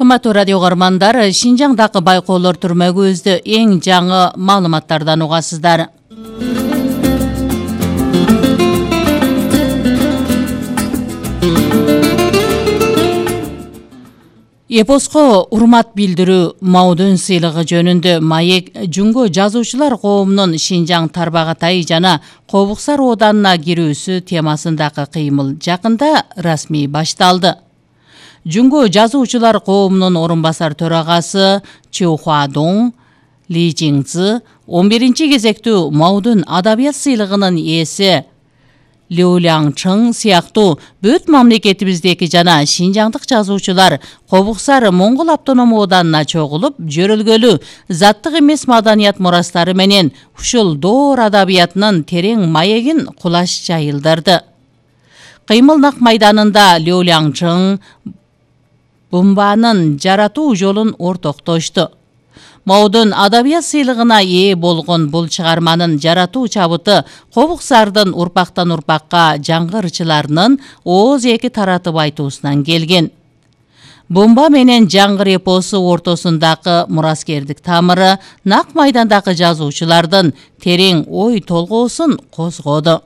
Кымбаттуу радио көрөрмандар, Шинжаңдагы байкоолор түрмөгүбүздө эң жаңы маалыматтардан угасыздар. Эпоско урмат билдирүү Маудун сыйлыгы жөнүндө маек Жунго жазуучулар коомунун Шинжаң Тарбагатай жана Кобуксар Оданына кирүүсү темасындагы кыймыл жакында расмий башталды. Жунго жазуучулар коомунун орун басар төрагасы Чу Хуадун Ли Жиңцзы 11-чи кезектүү Маудун адабият сыйлыгынын ээси Лю Ляңчың сыяктуу бүт мамлекетибиздеги жана шинжаңдык жазуучулар Кобуксар Моңгол автономия оданына чогулуп, жөрөлгөлүү заттык эмес маданият мурастары менен ушул доор адабиятынын терең маегин кулаш жайылдырды. Кыймыл нак майданында Лю Ляңчың Бумбанын жаратуу жолун ортоктошту. Маудун адабият сыйлыгына ээ болгон бул чыгарманын жаратуу чабыты Кобуксардын урпактан урпакка жаңгырчыларынын ооз эки таратып айтуусунан келген. Бумба менен жаңгыр эпосу ортосундагы мураскердик тамыры нак майдандагы жазуучулардын терең ой толгоосун козгоду.